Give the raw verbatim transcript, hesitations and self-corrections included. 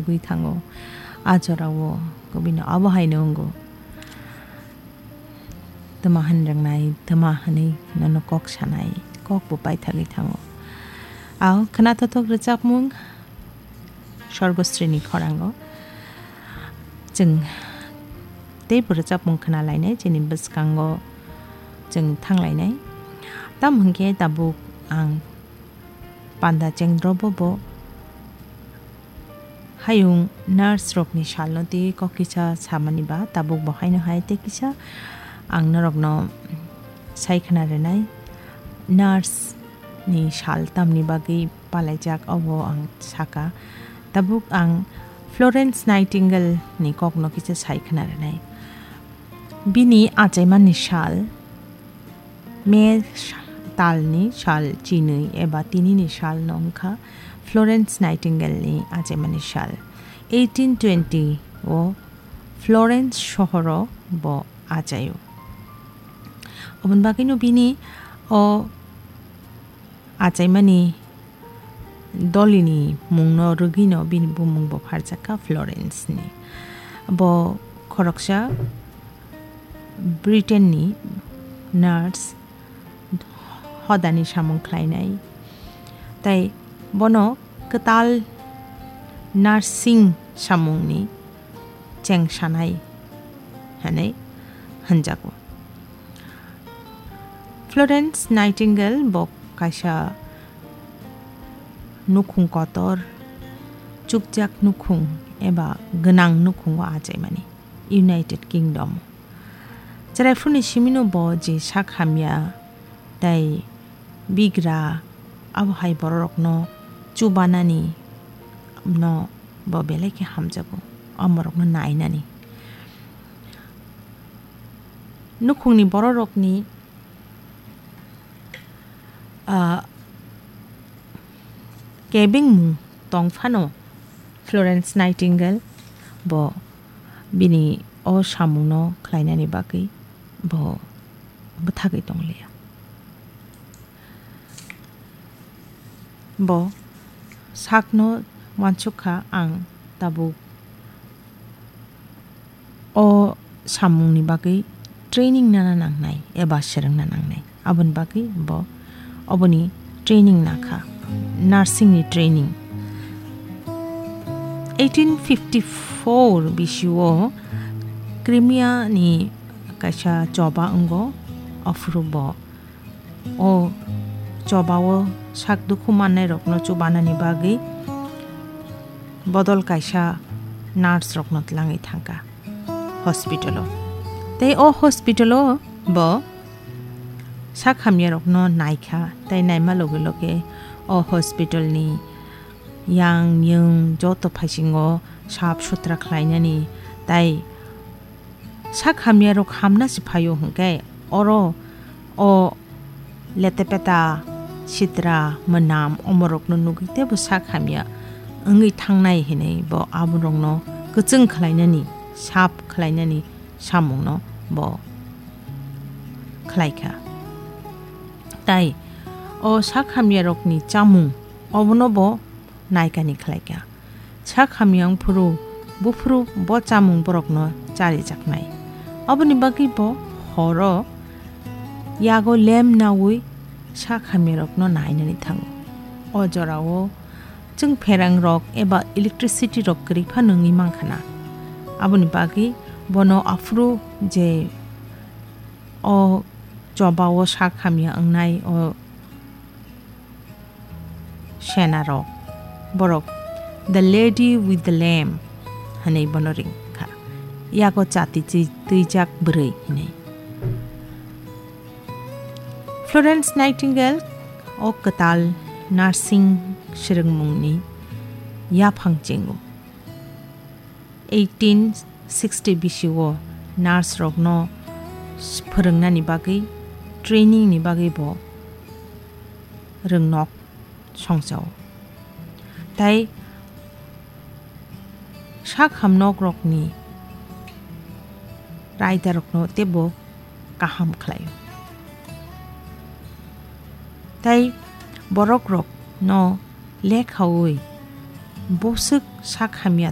Gwi thango. A jorao kubino abo haino wngo. Twma hwn rwngnai, twma hwnwi nono kok sanai, kok bo paithagwi thango. Ao khwnathothok rwchapmung Sorgosrini khorango. Chwng teibo rwchapmung khwnalainai, chini bwskango chwng thanglainai. Tamo hwnkhe tabuk ang panda chengdrobo bo hayung nurse rokni salno tei kok kisa samani ba tabuk bo haino hai tei kisa ang norokno sai khna rwnai. Nurse ni sal tamni bagwi palaijak obo ang saka. Tabuk ang Florence Nightingale ni kokno kisa sai khna rwnai. Bini achaimani sal May talni sal chinwi eba tinini salno wngkha Florence Nightingale ni achaimani sal. Eighteen twenty o Florence sohoro bo achaio. Oboni bagwino bini o achaimani dolini mungno rwgwino bini bumung bo pharjakha Florence ni. Bo khoroksa Britain ni nurse hodani samung khlainai. Tai bono kwtal nursing samungni cheng sanai hwnwi hwnjago. Florence Nightingale bo kaisa nukhung kotor, chukjak nukhung eba gwnang nukhungo achaimani United Kingdom. Chwraiphurni simino bo je sak hamya tei bigra, abo hai bororokno chubanani no bo belai khe hamjago, omorokno nainani. Nukhungni bororokni, ah, kebengmung tong phano Florence Nightingale bo bini o samungno khlainani bagwi bo bwthagwi tonglia. Bo sakno uansuk kha, ang tabuk o samungni bagwi training nana nangnai eba swrwngna nangnai. Aboni bagwi bo oboni training nakha, nursing ni training. Eighteen fifty-four bisio Crimea ni kaisa choba wngo, aphuru bo o chobao sak dukhu mannairokno chubanani bagwi bodol kaisa nurse rokno tlangwi thangkha hospital o. Tei o hospital o bo sak hamyarokno naikha, tei naima loge loge o hospital ni yang yung joto phaisingo sap sutra khlainani, tei sak hamyarok hamna se phaio hwnkhe oro o letepeta sitra mwnam omorokno nugwi teibo sak hamya wngwi thangnai hinwi bo aborokno kwchwng khlainani, sap khlainani samungno bo khlaikha. Tai o sak hamyarokni chamung obono bo naikani khlaikha. Sak hamya wngphuru buphuru bo chamung borokno charijaknai. Oboni bagwi bo horo yago lamp naui sak hamyarokno nainani thango. O jorao chwng pherangrok eba electricity rok kwrwi phano wngwi mankha na. Aboni bagwi bono aphuru je o chobao sak hamya wngnai o senarok, borok "The Lady with the Lamp" hwnwi bono ring kha, yago chati twi-, twijak bwrwi hwnwi. Florence Nightingale o kwtal nursing swrwngmungni yaphang chengo. Eighteen sixty bisio nurse rokno s-, phwrwngnani bagwi, training ni bagwi bo rwngnok songchao. Tai sak hamnok rokni raida rokno teibo kaham khlaio. Tai borok rokno lekhaui bwswk sak hamya